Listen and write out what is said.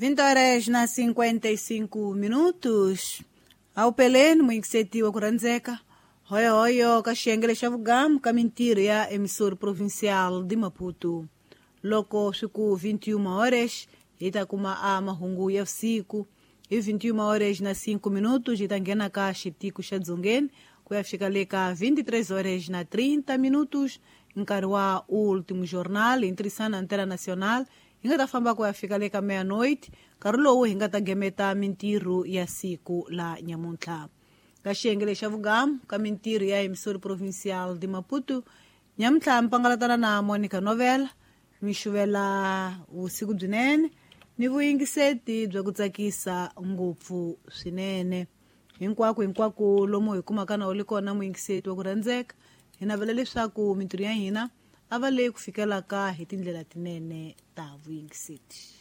20 horas na 55 minutos. Awupeleni muyingisetiwa ku rhandzeka hoyohoyo ka xiyenge xa vugamu ka mintirho ya emissora provincial de Maputo. Loko swi ku 21 horas hi ta kuma a mahungu ya vusiku. Hi 21 horas na 5 minutos hi ta nghena ka xitiko xa dzongeni ku ya fika le ka 23 horas na 30 minutos, nkarhi wa último jornal hi ntirhisano na Antena Nacional hi nga ta famba ku ya fika le ka meia-noite, nkarhi lowu hi nga ta gemeta mintirho ya siku la nyamuntlha. Ka xiyenge lexa vugamu ka mintirho ya emissora provincial de Maputo nyamuntlha mpangalatana na Monica Novela, mi xuvela vusiku byinene ni vuyingiseti bya ku tsakisa ngopfu swinene. Hinkwako hinkwako lomu hi kumaka na wu li kona muyingiseti wa ku rhandzeka, hi navela leswaku mintirho ya hina a va leyi ku fikelaka hi tindlela tinene ta vuyingiseti.